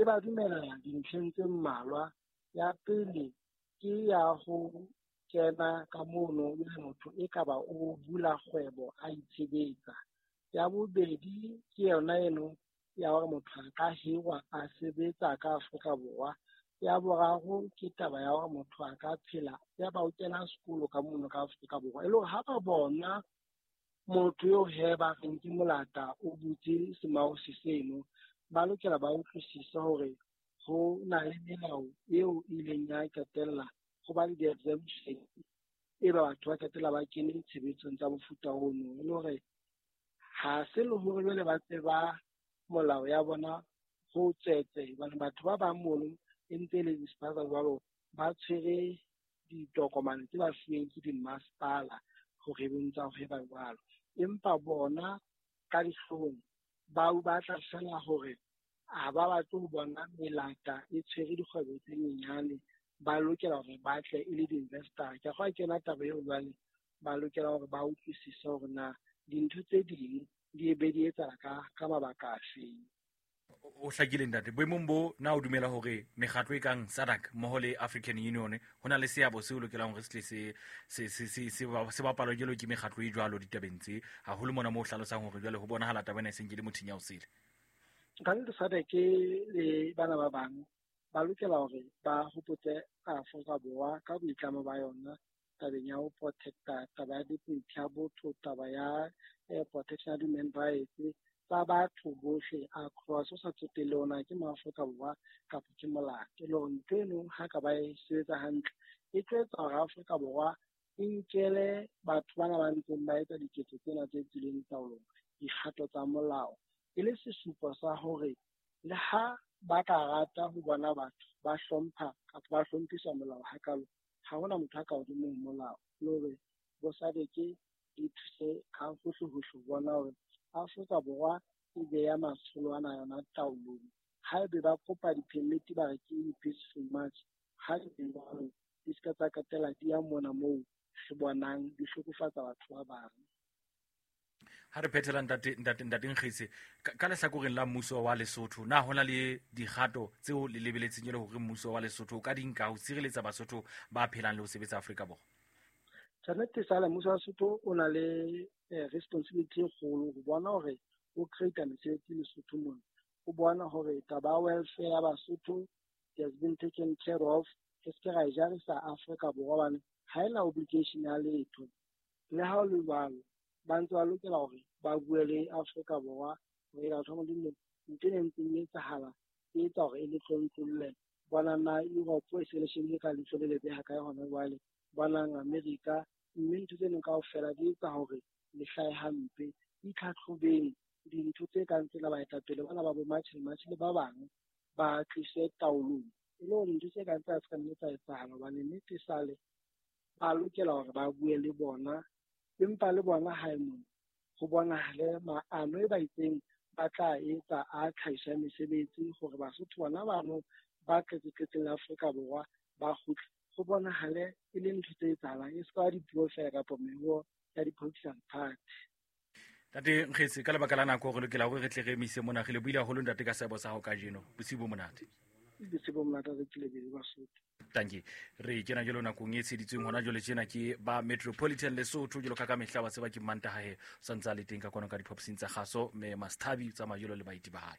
ba dumela dintlheng tse mmalwa. Ya pele ke ya ho kena ka mono e le motho e ka ba o bula kgwebo a itshebetsa. Ya bobedi ke yona eno ya hore motho a ka hirwa a sebetsa ka Afrika Borwa. Ya boraro ke taba ya hore motho a ka phela ya ba o kena sekolo ka mono ka Afrika Borwa. E le hore ha ba bona motho eo he ba reng ke molata o butse semausi seno, ba lokela ba utlwisise hore ho na le melao eo e ileng ya qetella ho ba le di-exemption e ba batho ba qetella ba kene tshebetsong tsa mofuta ono. E le hore ha se le hore jwale ba tseba molao ya bona ho tswetse, hobane batho ba bang mono e ntse e le di-spaza jwalo, ba tshwere ditokomane tse ba fuweng ke dimmasepala hore e bontsha hore ba jwalo. Empa bona ka dihlong ba batla fela hore ha ba batle ho bona melata e tshwere dikgwebo tse nyenyane, ba lokela hore ba tle e le di-investor. Ke a kgolwa ke yona taba eo jwale ba lokela hore ba utlwisise hore na dintho tse ding di be di etsahala ka mabaka afeng. O hlakile ntate. Boemong bo na o dumela hore mekgatlo e kang SADC mmoho le African Union ho na le seabo seo lokelang hore se tle se bapalwe jwalo ke mekgatlo e jwalo ditabeng tse, haholo mona moo o hlalosang hore jwale ho bonahala taba ena e seng ke le mothinya o sele? Ka nnete SADC le bana ba bang ba lokela hore ba hopotse Afrika Borwa ka boitlamo ba yona tabeng ya ho protecta taba ya dignity ya botho, taba ya protection ya human rights tsa batho bohle across, o sa tsotelle hore na ke Maafrika Borwa kapa ke molato. E le hore ntho eno ha ka ba e sebetsa hantle e tlo etsa hore Afrika Borwa e nkele batho bana ba ntseng ba etsa diketso tsena tse tswileng taolong dikgato tsa molao, e le sesupo sa hore le ha ba ka rata ho bona batho ba hlompha kapa ba hlomphisa molao hakalo, ha hona motho a ka hodimo ho molao. Le hore bo SADC di thuse ka hohle-hohle ho bona hore Afrika Borwa e beya matsholo ana yona taolong. Haebe ba kopa di-permit ba re ke peaceful march, ha di jwalo di ska tsa qetella di ya mona moo re bonang di hlokofatsa batho ba bang. Ha re phethela ntate Nkgetse, ka lehlakoreng la mmuso wa Lesotho, na hona le dikgato tseo le lebeletseng e le hore mmuso wa Lesotho o ka di nka ho sireletsa Basotho ba phelang le ho sebetsa Afrika Borwa? Tjhanete sala mmuso wa Lesotho o na le responsibility e kgolo ho bona hore o create mesebetsi Lesotho mona. O bona hore taba ya welfare ya Basotho has been taken care of. Re se ke ra e jarisa Afrika Borwa hobane ha ena obligation ya letho. Le ha ho le jwalo, ba ntse ba lokela hore ba bue le Afrika Borwa hore batho ba Modimo ntho e ntseng e etsahala e etsa hore e le tlontlolle. Bonang na Europe e se le shebile ka leihlo le lebe ha kae hona jwale, bonang America, mme ntho tse neng kaofela di etsa hore le hlahe hampe. Itlhatlhobeng dintho tse kang tsena, baetapele bana ba bo March and March le ba bang ba tlise taolong, e le hore dintho tse kang tsa se ka nne tsa etsahala, hobane nnete sale ba lokela hore ba bue le bona, empa le bona hae mona ho bonahale maano e ba itseng ba tla etsa a tlhahiso ya mesebetsi hore Basotho bona bano ba tletse-tletseng la Afrika Borwa ba kgutle, ho bonahale e le ntho tse etsahalang, e se ka dipuo fela kapa meruo ya di-political party. Ntate Nkgetse, ka lebaka la nako re lokela hore re tle re emise mona. Re lebohile haholo ntate ka seabo sa hao kajeno. Bosiu bo monate. Bosiu bo monate, re tlile pele Basotho. Tanki. Re kena jwalo nakong e tsheditsweng hona jwale tjena ke ba Metropolitan Lesotho, jwalo ka mehla wa tseba ke Mantaha he, o sa ntse a le teng ka kwano ka diphapusing tsa kgaso, mme Masthabi o tsamaya jwalo le baeti ba hae.